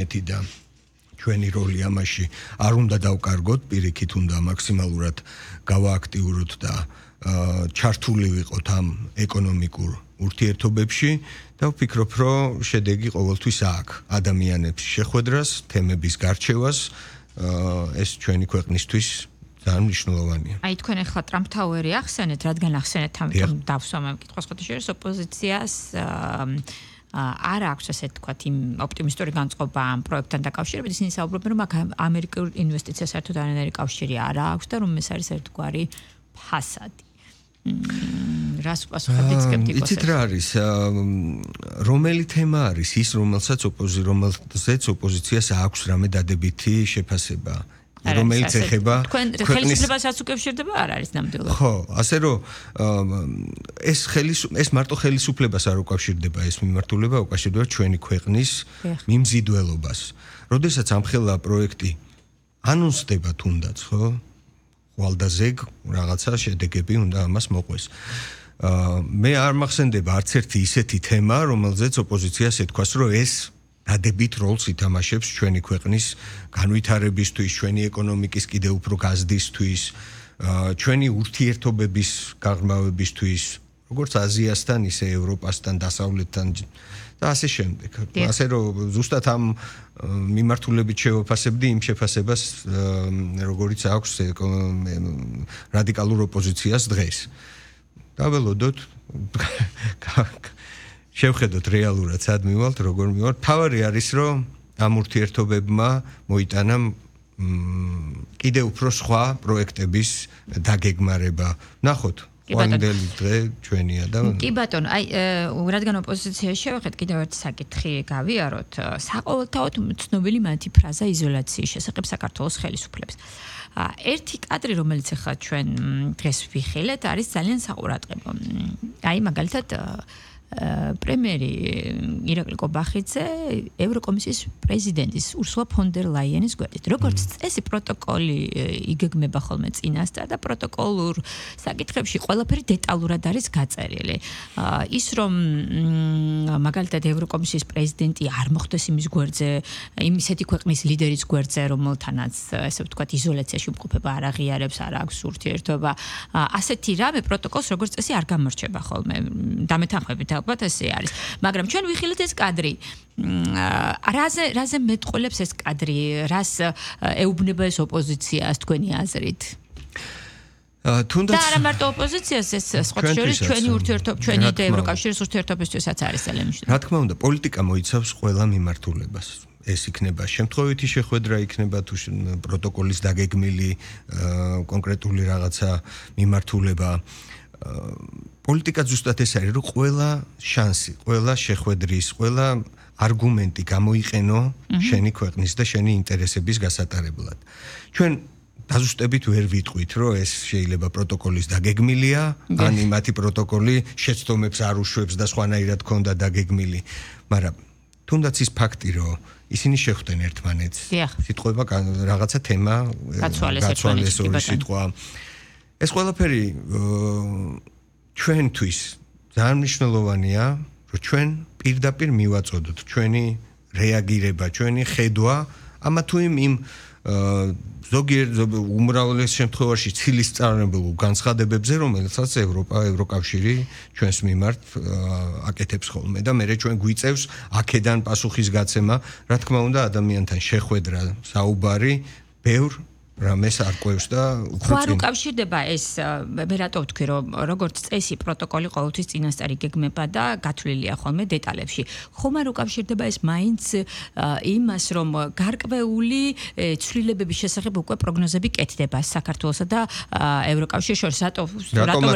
და ჩვენი როლი ამაში არ უნდა დავკარგოთ, პირიქით უნდა მაქსიმალურად გავააქტიუროთ და ჩართული ვიყოთ ამ ეკონომიკურ ურთიერთობებში და ვფიქრობ, რომ შედეგი ყოველთვის აქვს ადამიანების შეხვედრას, თემების გარჩევას, ეს ჩვენი ქვეყნისთვის ძალიან მნიშვნელოვანია. აი თქვენ ახლა ტრამპ ტაუერი ახსენეთ, რადგან ახსენეთ, ამიტომ დავსვამ ამ კითხვას ხოთაშორის ოპოზიციას არ აქვს ასე თქვათ იმ ოპტიმისტური განწყობა ამ პროექტთან დაკავშირებით, ისინი საუბრობენ, რომ აქ ამერიკულ ინვესტიციას საერთოდ არანაირი კავშირი არ აქვს და რომ ეს არის ერთგვარი ფასადი. რას უპასუხებთ სკეპტიკოსებს? იცით რა არის? რომელი თემა არის ის, რომელზეც ოპოზიციას აქვს რამე დადებითი შეფასება? რომელიც ეხება ხელისუფლებასაც უკავშირდება არ არის ნამდვილად. ხო, ასე რომ ეს მარტო ხელისუფლებას არ უკავშირდება ეს მიმართულება, უკავშირდება ჩვენი ქვეყნის მიმზიდველობას. როდესაც ამხელა პროექტი ანონსდება თუნდაც, ხო? ხვალდაზეგ რაღაცა შედეგები უნდა ამას მოყვეს. მე არ მახსენდება არც ერთი ისეთი თემა, რომელზეც ოპოზიციას ეთქვას, რომ ეს დადებით როლს ითამაშებს ჩვენი ქვეყნის განვითარებისთვის, ჩვენი ეკონომიკის კიდევ უფრო გაზრდისთვის, ჩვენი ურთიერთობების გაღრმავებისთვის, როგორც აზიასთან, ისე ევროპასთან, დასავლეთთან და ასე შემდეგ. ასე რომ ზუსტად ამ მიმართულებით შევაფასებდი იმ შეფასებას, როგორიც აქვს რადიკალურ ოპოზიციას დღეს. დაველოდოთ შევხედოთ რეალურად სად მივალთ, როგორ მივალთ. თავარი არის, რომ ამ ურთიერთობებმა მოიტანა კიდევ უფრო სხვა პროექტების დაგეგმარება. ნახოთ, ყვანდელი დღე ჩვენია და კი ბატონო, აი რადგან ოპოზიციაში შევხედეთ, კიდევ ერთი საკითხი გავიაროთ. საყოველთაოდ ცნობილი მათი ფრაზა იზოლაციის შესახებ საქართველოს ხელისუფლების. ერთი კადრი, რომელიც ახლა ჩვენ დღეს ვიხილეთ, არის ძალიან საყურადღებო. აი მაგალითად პრემიერი ირაკლი კობახიძე ევროკომისიის პრეზიდენტის ურსულა ფონ დერ ლაიენის გვერდით. როგორც წესი პროტოკოლი იგეგმება ხოლმე წინასწარ და პროტოკოლურ საკითხებში ყველაფერი დეტალურად არის გაწერილი. ის რომ მაგალითად ევროკომისიის პრეზიდენტი არ მოხდეს იმის გვერდზე, ისეთი ქვეყნის ლიდერის გვერდზე, რომელთანაც ესე ვთქვათ იზოლაციაში იმყოფება, არ აღიარებს, არ აქვს ურთიერთობა. ასეთი რამე პროტოკოლს როგორც წესი არ გამორჩება ხოლმე. დამეთანხმებით ალბათ ესე არის. მაგრამ ჩვენ ვიხილეთ ეს კადრი. რაზე მეტყოლებს ეს კადრი? რას ეუბნება ეს ოპოზიციას თქვენი აზრით? თუნდაც და არა მარტო ოპოზიციას, ეს სხვა შორის ჩვენი ურთიერთობა, ჩვენი და ევროკავშირის ურთიერთობისთვისაც არის ძალიან მნიშვნელოვანი. რა თქმა უნდა, პოლიტიკა მოიცავს ყველა მიმართულებას. ეს იქნება შემთხვევითი შეხვედრა, იქნება თუ პროტოკოლის დაგეგმილი კონკრეტული რაღაცა მიმართულება. პოლიტიკა ზუსტად ეს არის, რომ ყველა შანსი, ყველა შეხვედრის, ყველა არგუმენტი გამოიყენო შენი ქვეყნის და შენი ინტერესების გასატარებლად. ჩვენ დაზუსტებით ვერ ვიტყვით, რომ ეს შეიძლება პროტოკოლის დაგეგმილია, ან იმათი პროტოკოლი შეცდომებს არ უშვებს და სხვანაირად ქონდა დაგეგმილი, მაგრამ თუნდაც ის ფაქტი, რომ ისინი შეხვდნენ ერთმანეთს, სიტყვება რაღაცა თემა გაცვალეს ორი სიტყვა. ეს ყველაფერი ჩვენთვის ძალიან მნიშვნელოვანია, რომ ჩვენ პირდაპირ მივაწოდოთ ჩვენი რეაგირება, ჩვენი ხედვა ამა თუ იმ ზოგიერთ უმრავლეს შემთხვევაში ცილისწარებულ განცხადებებზე, რომელსაც ევროკავშირი ჩვენს მიმართ აკეთებს ხოლმე და მერე ჩვენ გვიწევს აქედან პასუხისგაცემა, რა თქმა უნდა, ადამიანთან შეხვედრა, საუბარი, ბევრ რამეს არკვევს და უფრო არ უკავშირდება ეს, მე რატო ვთქვი, რომ როგორც წესი პროტოკოლი ყოველთვის წინასწარ იგეგმება და გათვლილია ხოლმე დეტალებში. ხომ არ უკავშირდება ეს მაინც იმას, რომ გარკვეული ცვლილებების შესახებ უკვე პროგნოზები კეთდება საქართველოსა და ევროკავშირის შორის.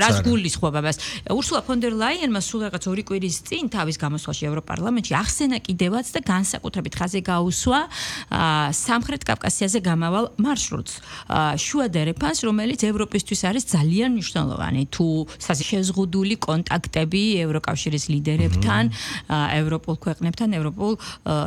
რას გულისხმობ ამას? ურსულა ფონ დერ ლაიენმა სულ რაღაც 2 კვირის წინ თავის გამოსვლაში ევროპარლამენტში ახსენა კიდევაც და განსაკუთრებით ხაზი გაუსვა სამხრეთ კავკასიაზე გამავალ მარშრუტს. შუა დერეფანს, რომელიც ევროპისთვის არის ძალიან მნიშვნელოვანი. თუ შეზღუდული კონტაქტები ევროკავშირის ლიდერებთან, ევროპულ ქვეყნებთან, ევროპულ